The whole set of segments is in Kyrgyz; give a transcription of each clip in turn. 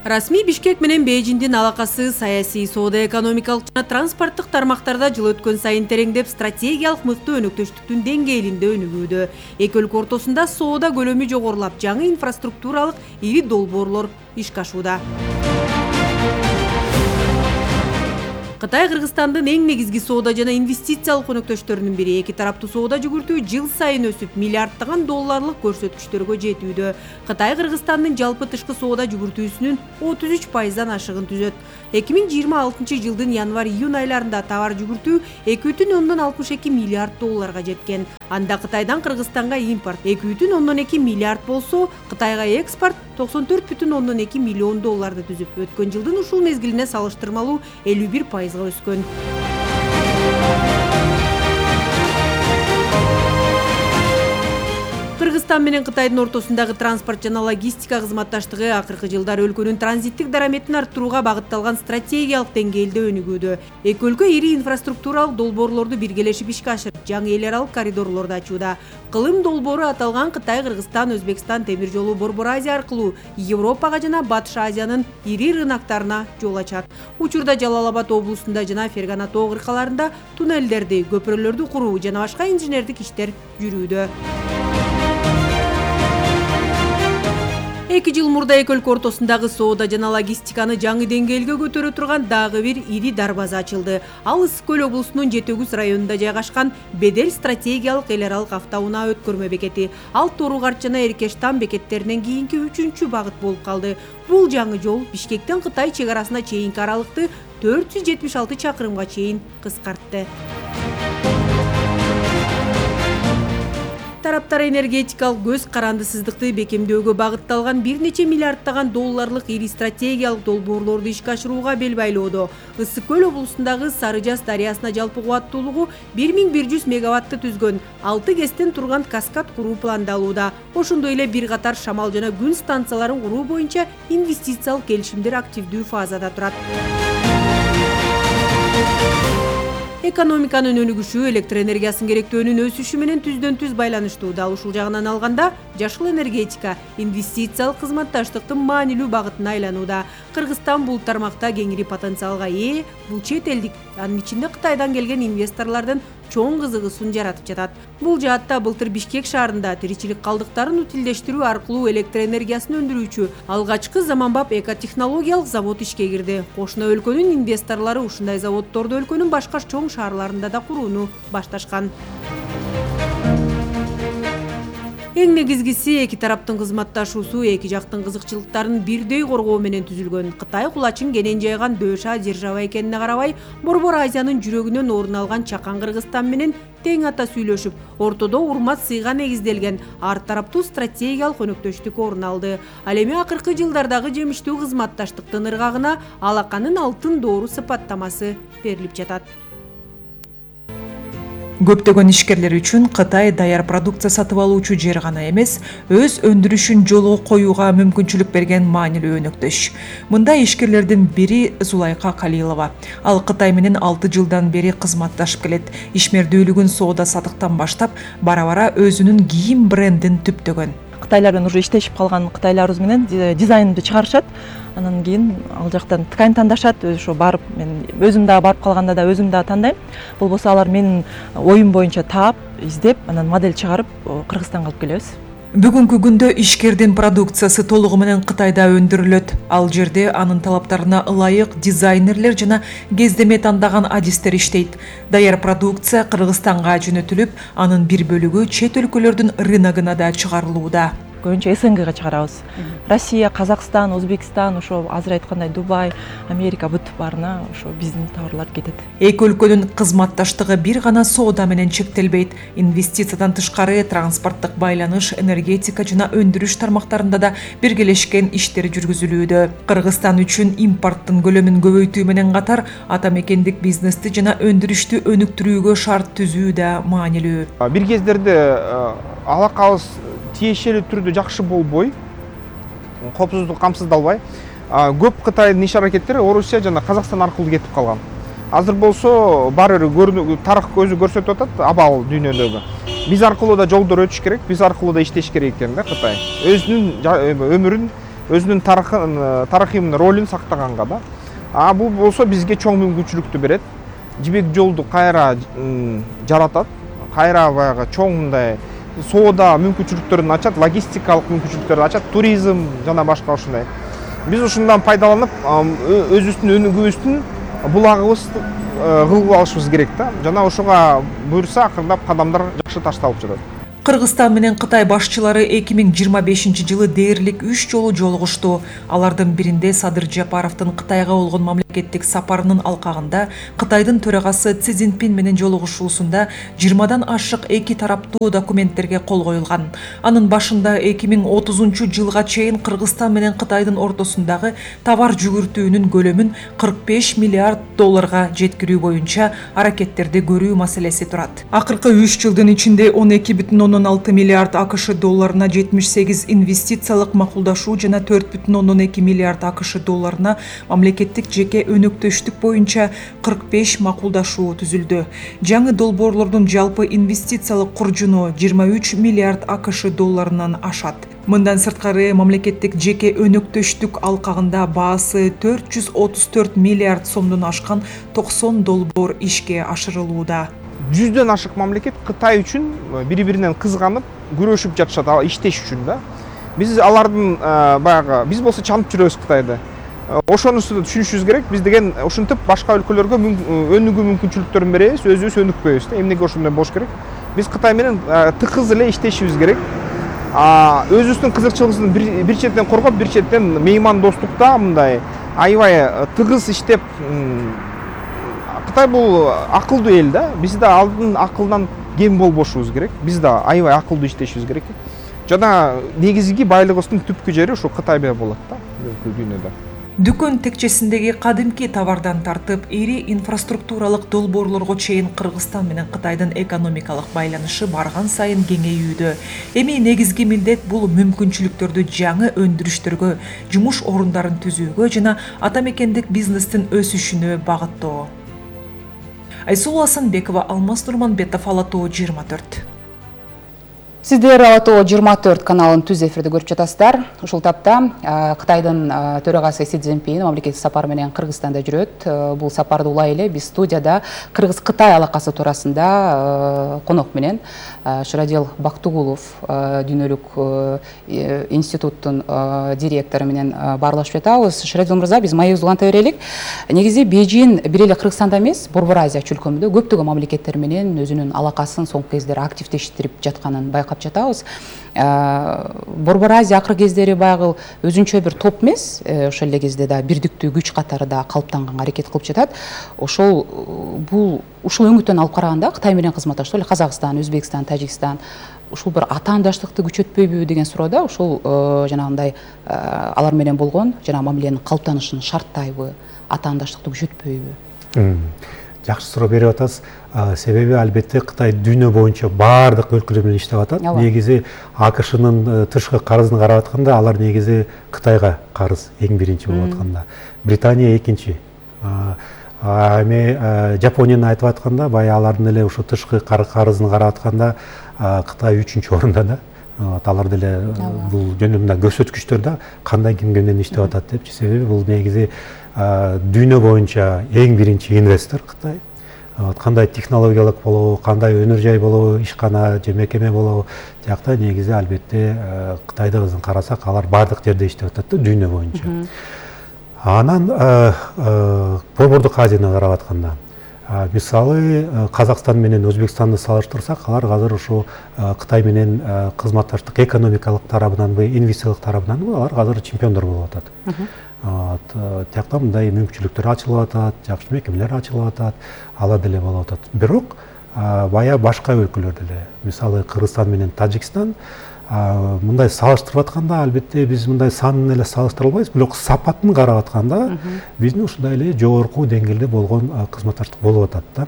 Расмий Бишкек менен Бейжиңдин алакасы саясий, соода экономикалык жана транспорттук тармактарда жыл өткөн сайын тереңдеп, стратегиялык мыкты өнөктөштүктүн деңгээлинде өнүгүүдө. Эки өлкө ортосунда соода көлөмү жогорулап, жаңы инфраструктуралык ири долбоорлор ишке ашууда. Кытай Кыргызстандын эң негизги соода жана инвестициялык өнөктөштөрүнүн бири. Эки тараптуу соода жүгүртүү жыл сайын өсүп, миллиарддаган долларлык көрсөткүчтөргө жетүүдө. Кытай Кыргызстандын жалпы тышкы соода жүгүртүүсүнүн 33%дан ашыгын түзөт. 2026 жылдын январь-июнь айларында товар жүгүртүү 2,62 миллиард долларга жеткен. Анда Кытайдан Кыргызстанга импорт 2,2 миллиард болсо, Кытайга экспорт 94,2 миллион долларды түзүп, өткөн жылдын ушул мезгилине салыштырмалуу 51%га өскөн. Кыргызстан менен Кытайдын ортосундагы транспорт жана логистика кызматташтыгы акыркы жылдары өлкөнүн транзиттик дараметин арттырууга багытталган стратегиялык деңгээлде өнүгүүдө. Эки өлкө ири инфраструктуралык долбоорлорду биргелешип ишке ашырып, жаңы эл аралык коридорлорду ачууда. Кылым долбоору аталган Кытай, Кыргызстан, Өзбекстан темир жолу Борбор Азия аркылуу Европага жана Батыш Азиянын ири рыноктарына жол ачат. Учурда Жалал Абад облусунда жана Фергана тоо кыркаларында туннелдерди, көпүрөлөрдү куруу жана башка инженердик иштер жүрүүдө. 2 жыл мурда эки өлкө ортосундагы соода жана логистиканы жаңы деңгээлге көтөрө турган дагы бир ири дарбаза ачылды. Ал Ысык көл облусунун Жетөгүз районунда жайгашкан Бедел стратегиялык эл аралык автоунаа өткөрмө бекети. Ал Торугарт жана Эркештам бекеттеринен кийинки 3-чү багыт болуп калды. Бул жаңы жол Бишкектен Кытай чек арасына чейинки аралыкты 476 чакырымга чейин кыскартты. Тараптар энергетикалык көз карандысыздыкты бекемдөөгө багытталган бир нече миллиарддаган долларлык ири стратегиялык долбоорлорду ишке ашырууга бел байлоодо. Ысык көл облусундагы Сары Жаз дарыясына жалпы кубаттуулугу 1100 мегаватты түзгөн 6 кестен турган каскад куруу пландалууда. Ошондой эле бир катар шамал жана күн станцияларын куруу боюнча инвестициялык келишимдер активдүү фазада турат. Экономиканын өнүгүшү электр энергиясын керектөөнүн өсүшү менен түздөн-түз байланыштуу. Дал ушул жагынан алганда, жашыл энергетика инвестициялык кызматташтыктын маанилүү багытына айланууда. Кыргызстан бул тармакта кеңири потенциалга ээ. Бул чет элдик, анын ичинде Кытайдан келген инвесторлордун чоң кызыгуусун жаратып жатат. Бул жаатта былтыр Бишкек шаарында тиричилик калдыктарын утилдештирүү аркылуу электр энергиясын өндүрүүчү алгачкы заманбап экотехнологиялык завод ишке кирди. Кошуна өлкөнүн инвесторлору ушундай заводдорду өлкөнүн башка чоң шаарларында да курууну башташкан. Эң негизгиси эки тараптын кызматташуусу эки жактын кызыкчылыктарын бирдей коргоо менен түзүлгөн. Кытай кулачын кенен жайган дөша держава экенине карабай, Борбор Азиянын жүрөгүнөн орун алган чакан Кыргызстан менен тең ата сүйлөшүп, ортодо урмат сыйга негизделген ар тараптуу стратегиялык өнөктөштүк орун алды. Ал эми акыркы жылдардагы жемиштүү кызматташтыктын ыргагына алаканын алтын доору сыпаттамасы берилип жатат. Көптөгөн ишкерлер үчүн Кытай даяр продукция сатып алуучу жер гана эмес, өз өндүрүшүн жолго коюуга мүмкүнчүлүк берген маанилүү өнөктөш. Мында ишкерлердин бири Зулайка Калилова. Ал Кытай менен 6 жылдан бери кызматташып келет. Ишмердүүлүгүн соода сатыктан баштап, бара-бара өзүнүн кийим брендин түптөгөн. Кытайлардан уже иштешип калган кытайларыбыз менен дизайнды чыгарышат. Анан кийин ал жактан ткань тандашат. Ошо барып мен өзүм дагы барып калганда да өзүм дагы тандайм. Болбосо алар менин оюм боюнча таап, издеп, анан модель чыгарып Кыргызстанга алып келебиз. Бүгүнкү күндө ишкердин продукциясы толугу менен Кытайда өндүрүлөт. Ал жерде анын талаптарына ылайык дизайнерлер жана кездеме тандаган адистер иштейт. Даяр продукция Кыргызстанга жөнөтүлүп, анын бир бөлүгү чет өлкөлөрдүн рыногуна да чыгарылууда. Көбүнчө СНГга чыгарабыз. Россия, Казакстан, Өзбекстан, ошо азыр айткандай Дубай, Америка бүт баарына ошо биздин товарлар кетет. Эки өлкөнүн кызматташтыгы бир гана соода менен чектелбейт. Инвестициядан тышкары транспорттук байланыш, энергетика жана өндүрүш тармактарында да биргелешкен иштер жүргүзүлүүдө. Кыргызстан үчүн импорттун көлөмүн көбөйтүү менен катар ата мекендик бизнести жана өндүрүштү өнүктүрүүгө шарт түзүү да маанилүү. Бир кездерде алакабыз тиешелүү түрдө жакшы болбой, коопсуздук камсыздалбай, көп Кытайдын иш аракеттери Орусия жана Казакстан аркылуу кетип калган. Азыр болсо баары бир тарых көзү көрсөтүп атат абал дүйнөдөгү. Биз аркылуу да жолдор өтүш керек, биз аркылуу да иштеш керек экен да Кытай. Өзүнүн өмүрүн өзүнүн тарыхый ролун сактаганга да. Бул болсо бизге чоң мүмкүнчүлүктү берет. Жибек жолду кайра жаратат, кайра баягы чоң мындай соода мүмкүнчүлүктөрүн ачат, логистикалык мүмкүнчүлүктөрдү ачат, туризм жана башка ушундай. Биз ушундан пайдаланып, өзүбүздүн өнүгүүбүздүн булагыбызды кылып алышыбыз керек да. Жана ошого буюрса акырындап кадамдар жакшы ташталып жатат. Кыргызстан менен Кытай башчылары 2025-жылы дээрлик 3 жолу жолугушту. Алардын биринде Садыр Жапаровдун Кытайга болгон мамлекеттик сапарынын алкагында Кытайдын төрагасы Си Цзиньпин менен жолугушуусунда 20дан ашык эки тараптуу документтерге кол коюлган. Анын башында 2030-жылга чейин Кыргызстан менен Кытайдын ортосундагы товар жүгүртүүнүн көлөмүн 45 миллиард долларга жеткирүү боюнча аракеттерди көрүү маселеси турат. Акыркы 3 жылдын ичинде 12,6 миллиард АКШ долларына 78 инвестициялык макулдашуу жана 4,2 миллиард АКШ долларына мамлекеттик жеке өнөктөштүк боюнча 45 макулдашуу түзүлдү. Жаңы долбоорлордун жалпы инвестициялык куржуну 23 миллиард АКШ долларынан ашат. Мындан сырткары мамлекеттик жеке өнөктөштүк алкагында баасы 434 миллиард сомдон ашкан 90 долбоор ишке ашырылууда. 100дөн ашык мамлекет Кытай үчүн бири-биринен кызганып, күрөшүп жатышат, иштеш үчүн да. Биз алардын баягы биз болсо чанып жүрөбүз Кытайды. Ошонусу түшүнүшүбүз керек. Биз деген ушинтип башка өлкөлөргө өнүгүү мүмкүнчүлүктөрүн беребиз, өзүбүз өнүкпөйбүз да. Эмнеге ошондой болуш керек? Биз Кытай менен тыкыз эле иштешибиз керек. Өзүбүздүн кызыкчылыгыбызды бир четтен коргоп, бир четтен меймандостукта мындай аябай тыгыз иштеп, Кытай бул акылдуу эл да. Биз да алдын акылдан кем болбошубуз керек. Биз да аябай акылдуу иштешибиз керек. Жана негизги байлыгыбыздын түпкү жери ошо Кытайда болот да, дүйнөдө. Дүкөн текчесиндеги кадимки товардан тартып, ири инфраструктуралык долбоорлорго чейин Кыргызстан менен Кытайдын экономикалык байланышы барган сайын кеңейүүдө. Эми негизги милдет бул мүмкүнчүлүктөрдү жаңы өндүрүштөргө, жумуш орундарын түзүүгө жана ата мекендик бизнестин өсүшүнө багыттоо. Айсулу Асанбекова, Алмаз Нурманбетов, Ала Тоо 24. Сиздер Ала Тоо 24 каналын түз эфирде көрүп жатасыздар. Ушул тапта Кытайдын төрагасы Си Цзиньпин мамлекеттик сапар менен Кыргызстанда жүрөт. Бул сапарды улай эле биз студияда Кыргыз-Кытай алакасы туурасында конок менен Шырадел Бактыгулов дүйнөлүк институттун директору менен баарлашып жатабыз. Шырадел мырза, биз маегибизди уланта берелик. Негизи Бейжин бир эле Кыргызстанда эмес, Борбор Азия чөлкөмүндө көптөгөн мамлекеттер менен өзүнүн алакасын соңку кездери активдештирип жатканын байкап жатабыз. Борбор Азия акыркы кездери баягы өзүнчө бир топ эмес, ошол эле кезде да бирдиктүү күч катары да калыптанганга аракет кылып жатат. Ушул өңүттөн алып караганда Кытай менен кызматташтык, Казакстан, Өзбекстан, Тажикстан ушул бир атаандаштыкты күчөтпөйбү деген суроодо, ушул жанагындай алар менен болгон жана мамиленин калыптанышын шарттайбы, атаандаштыкты күчөтпөйбү? Жакшы суроо берип атасыз. Себеби албетте Кытай дүйнө боюнча баардык өлкөлөр менен иштеп атат. Негизи АКШнын тышкы карызын карап атканда, алар негизи Кытайга карыз эң биринчи болуп атканда. Британия экинчи. Эми Жапонияны айтып атканда, баягы алардын эле ушу тышкы карызын карап атканда Кытай 3-чү орунда да. Алар деле бул жөнүндө көрсөткүчтөр да кандай ким менен иштеп атат депчи. Себеби бул негизи дүйнө боюнча эң биринчи инвестор Кытай. Кандай технологиялык болобу, кандай өнөр жай болобу, ишкана же мекеме болобу, жакта негизи албетте Кытайды карасак, алар бардык жерде иштеп атат да дүйнө боюнча. Анан Борбордук Азияны карап атканда, мисалы Казакстан менен Өзбекстанды салыштырсак, алар азыр ушу Кытай менен кызматташтык экономикалык тарабынанбы, инвестициялык тарабынанбы, алар азыр чемпиондор болуп атат. Тиякта мындай мүмкүнчүлүктөр ачылып атат, жакшы мекемелер ачылып атат, ала деле болуп атат. Бирок бая башка өлкөлөр деле, мисалы Кыргызстан менен Тажикстан мындай салыштырып атканда, албетте биз мындай санын эле салыштыра албайбыз, бирок сапатын карап атканда биздин ушундай эле жогорку деңгээлде болгон кызматташтык болуп атат да.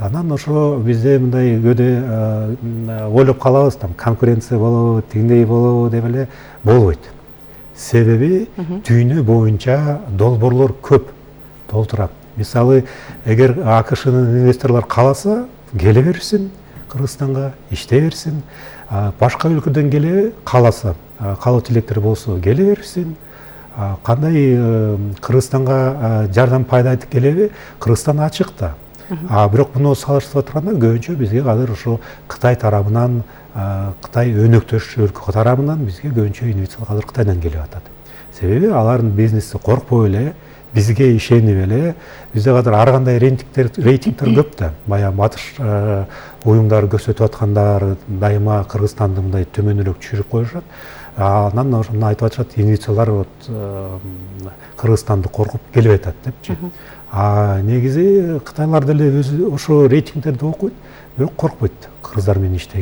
Анан ошо бизде мындай көөдө ойлоп калабыз, конкуренция болобу, тигиндей болобу деп эле болбойт. Себеби дүйнө боюнча долбоорлор көп толтурат. Мисалы, эгер АКШнын инвесторлор кааласа, келе берсин Кыргызстанга, иштей берсин. башка өлкөдөн келеби, кааласа, каалоо тилектер болсо келе берсин. Кандай Кыргызстанга жардам пайда айтып келеби, Кыргызстан ачык да. Бирок муну салыштырып атканда көбүнчө бизге азыр ошо Кытай тарабынан, Кытай өнөктөш өлкө тарабынан бизге көбүнчө инвестициялар азыр Кытайдан келип атат. Себеби алардын бизнеси коркпой эле, бизге ишенип эле, бизде азыр ар кандай рейтингдер көп да. Баягы батыш уюмдар көрсөтүп аткандар дайыма Кыргызстанды мындай төмөнүрөөк түшүрүп коюшат. Анан ошону айтып атышат, инвестициялар Кыргызстанды коркуп келип атат депчи. Негизи Кытайлар деле өзү ошо рейтингдерди окуйт, бирок коркпойт кыргыздар менен иштеген.